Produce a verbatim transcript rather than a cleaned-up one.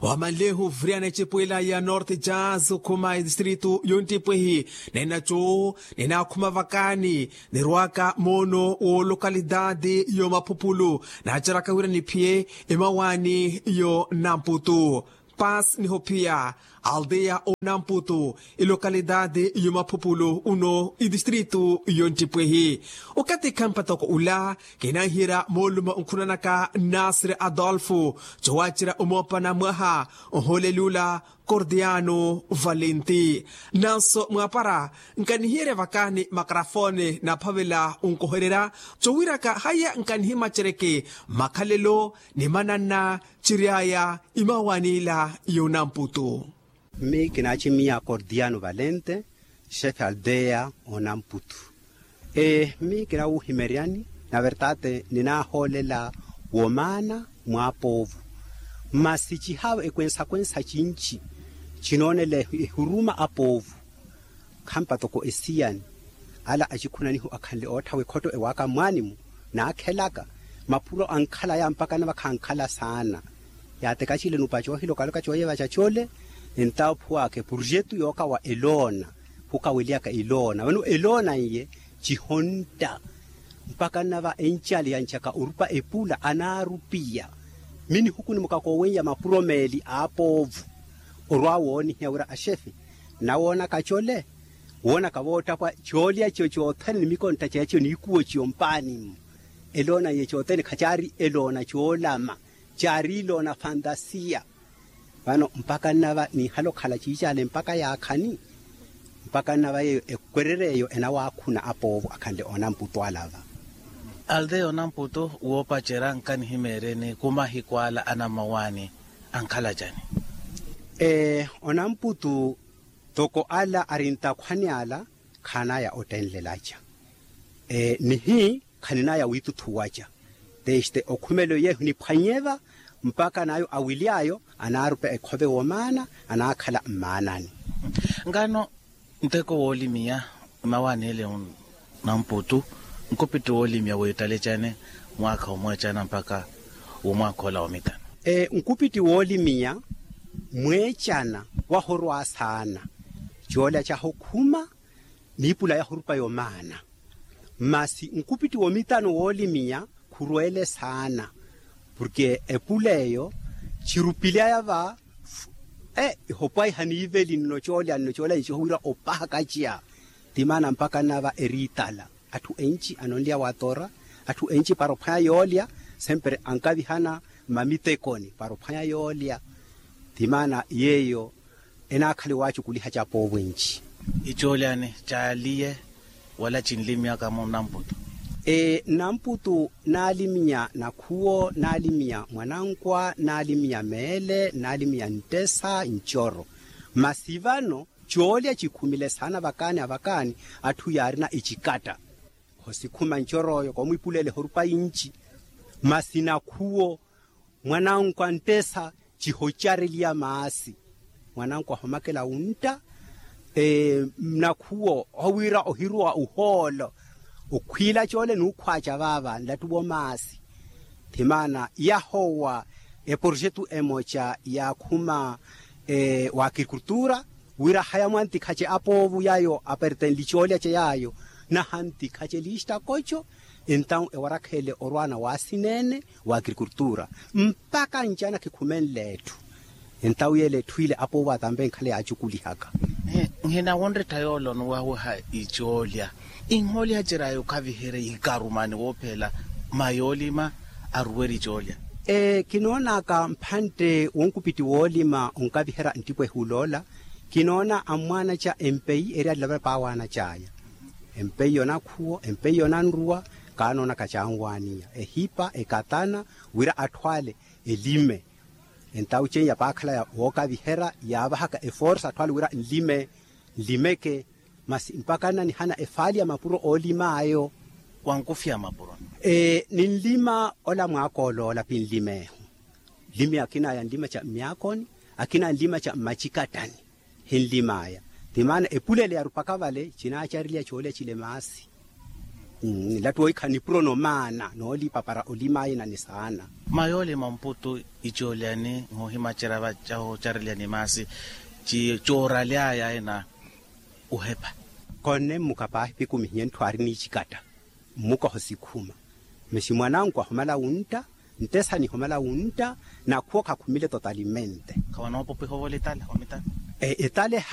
Wamanlehu vuriyana ecipo ila ya norte jazz okhuma edistritu yonttipwehi, nenaco ninaakhuma vakaani nirwaka moono wolokalidadi yomaphupulu. Naaceraka wira niphiye emawaani yonamputu. Pas nihophiya aldeya onamputu, ilokalitati yomaphupulu uno itistritu yonttipwehi. Okatikha mpatoko ula kinanhira moolumo nkhunanaka nasir adolfo, cowacerya omoopana mwaha ohooleli ula kordiano valenti. Nanso mwaapara nkanihiyerya vakani makarafoni naphavela onkohererya, cowiraka haiya nkanihimacereke makhalelo ni mananna ciryaya imawaani ila yonamputu. Mmi kinaacimmiya kordiano valente, xefe aldeya onamputu. Mmi kinawuhimeryani na vertate ninaahoolela womaana mwapoovu. Masi cihawe ekwensa-kwensa cinci cinoonela ehuruma apoovu. Khampa toko esiyani ala acikhunanihu akhanle ootthawa ekhotto ewaaka mwaanimu naakhelaka mapuro ankhalaya mpaka nava khankhala saana. Yaatekacile nupa coohilokaloka cooyevaca cole. Entawo phuwaka epurjetu yookawa eloona phukaweliyaka eloona vano eloona n'iye cihontta. Mpaka nava encale yancaka orupa epula anaarupiya. Mmi nihukunimuka koowen'ya mapuro meeli aapoovu orwa woonihiya wira axefe nnawoonaka cole. Woonaka voottapwa coolya ciyo coothene ni mikontta ceya ciyo n'ikuwo ciyo mpaani-mu. Eloona iye coothene khacaari eloona coolama, caari eloona fantasiya. Vano mpaka nnava niihala okhala ciicaale mpaka yaakhani. Mpaka nnava yeeyo ekwererya eyo enawaakhuna apoovo akhanle onamputu alava. Aldeya onamputu woopacerya nkanihimeeryeni ku mahiku ala anammawaani ankhala cani? Onamputu toko ala ari ntakhwani ala khaanaya ottenlelaca. Nihi khaninaya wiituthuwaca. Teste okhumelo yeehu niphwanyeva mpaka nayo awily'ayo anaarupa ekhove womaana anaakhala mmaanani. Ngano nteko woolimiya mmawaani ele onamputu nkupitti woolimiya wiittalecane mwaakha omweecana mpaka womwaakha ola womitano? Nkupitti woolimiya mweecana wahorwa saana. Coolya cahokhuma niipula yahorupa yomaana. Masi nkupitti womitano woolimiya khurweele saana. Porke epula eyo cirupily'aya va ihopwaiha niiveli nno coolya nno coolya nci howira opahakaciya. Ti maana mpaka nnava eriitala atthu enci anonlya watora atthu enci para ophwanya yoolya. Sempre ankavihana mmamitekoni para ophwanya yoolya. Ti maana yeeyo enaakhala ewaacukuliha ca poovo enci. Icoolyani caaliye wala cinlimyaka munamputu? Namputu naaliminya nakhuwo naaliminya mwanankwa naaliminya meele naaliminya nttesa ncoro. Masi vano coolya cikhumile saana vakaani avakaani atthu yaarina ecikatta. Hosikhuma ncor'oyo koomwipulela ehorupa inci. Masi nakhuwo mwanankwa nttesa cihocareliya maasi. Mwanankwa homakela wuntta. Nakhuwo howira ohiruwa uhoolo okhwiila coole n'ukhwaaca vaava nlattuwo maasi. Ti maana yahowa eporjetu emoca yaakhuma wa agrikultura wira haya mwantikhace apoovu yayo apertenli coolyace yayo nahantikhace lista koco. Entawu ewarakheele orwaana waasineene wa agrikultura mpaka ncana khikhumenle etthu. Entawu yeele etthu ile apoovu atampe nkhala yaacukulihaka. Nhina wonrettha yoole onuwawiha icoolya inhoolyacerya yokhaviherya ikarumani woophela mayoolima aruwerya icoolya. Kinoonaka mphantte wonkupiti woolima onkaviherya nttipwehi uloola. Kinoona ammwaanaca empeyi eri alilavela paawaanacaya empeyi yonakhuwo empeyi yonanruwa. Kaanoonaka caanwaaniya ehipa ekatana wira atthu ale elime. Entawu ceiya paakhalaya wookaviherya yaavahaka eforsa atthu ale wira nlime nlimeke. Masi mpaka nnanihana efaali ya mapuro oolim'ayo. Wankufya mapuro ninlima ola mwaaka oloola pinlimeehu. Nlimi akinaya nlima ca mmyaakoni akinaya nlima ca mmacikattani. Hinlim'aya ti maana epulele yarupaka vale cinaacariliya coolya cile maasi. Nlattu woikhala nipuro nomaana noolipa para olimaaye na nisaana. Mayoolima mputu icooliyani nhoohimacerya vacahu ocareliyani maasi cooraly'aya ena uhepa. Konne mmuka paahi pikumihiye ntthu aari niicikatta mmuka ohosikhuma. Masi mwananku ahumala wuntta ntesa nihumala wuntta. Nakhuwo khakhumile totalimente. Khawanoopopiha ovola etale omitala. Etale.